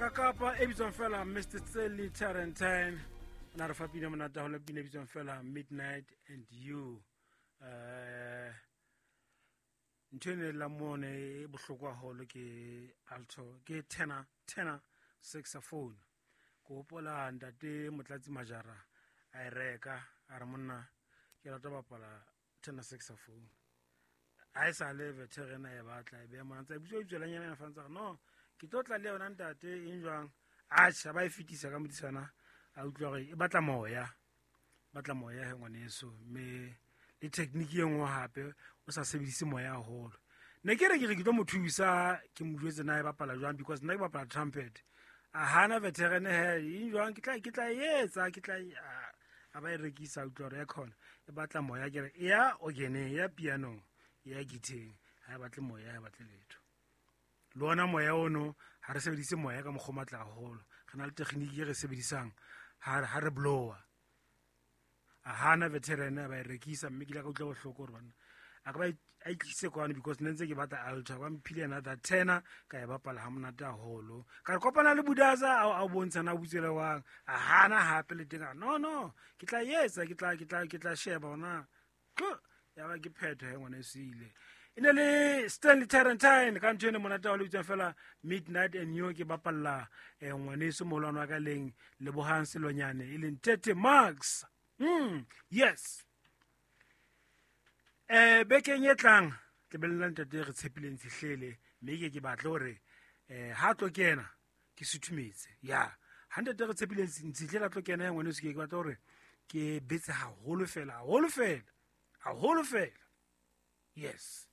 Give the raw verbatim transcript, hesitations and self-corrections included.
Kakapa e bitswang fela Mister Stanley Tarentine o na re fa pina monate haholo, pina e bitswang fela Midnight and You. Eh ntho e ne la mone e bohloko haholo ke alto, ke tenor, tenor saxophone. Ke hopola ntate Motlatsi Majara a e reka, a re monna ke rata ho bapala tenor saxophone. Ha e sa le veteran a e batla, e beha mona, ntse a bitswa bitswelanyana fa ntse a re, no ke tlo tla le yona ntate, eng jwang? Atjha, ba e fetisa ka modisana, a utlwa hore e batla moya, batla moya he ngwaneso, mme le technique e nngwe hape o sa sebedise moya haholo. Ne ke re ke re ke tlo mo thusa, ke mo jwetse na e bapala jwang, because nna ke bapala trumpet. A hana veteran he, eng jwang? Ke tla, ke tla e etsa, ke tla e, a, a ba e rekisa, a utlwa hore ya khona e batla moya. Ke re ya organeng, ya pianong, ya guitar-eng, ha e batle moya, ha e batle letho. Le ona moya ono ha re sebedise moya ka mokgwa o matla haholo, re na le technique e re sebedisang ha, ha re blower. A hana veteran a ba e rekisa, mme ke ile ka utlwa bohloko hore banna a ka ba a itlise kwano, because ne ntse ke batla alto, ba mphile another tenor, ka e bapala ha monate haholo. Ka re kopana le Budaza, a, a bontsha na butswele wang, a hana hape le teng, a re, no no ke tla etsa, ke tla, ke tla, ke tla sheba hona. Tlo, ya ba ke phetho he ngwaneso ile. E ne le Stanley Tarentine ka ntho ene monate haholo e bitswang fela Midnight and You, ke bapalla, eh, ngwaneso moholwane wa ka leng Lebohang Selonyane, e leng Tete Marks. Mm, yes. Eh, bekeng e tlang ke belela ntate re tshepileng Tshihlele, mme ke ke batle hore, eh, ha tlo kena ke suthumetse. Ya, ha ntate re tshepileng Tshihlele a tlo kena ya ngwaneso, ke ke batla hore ke betse haholo fela, haholo fela, haholo fela. Yes.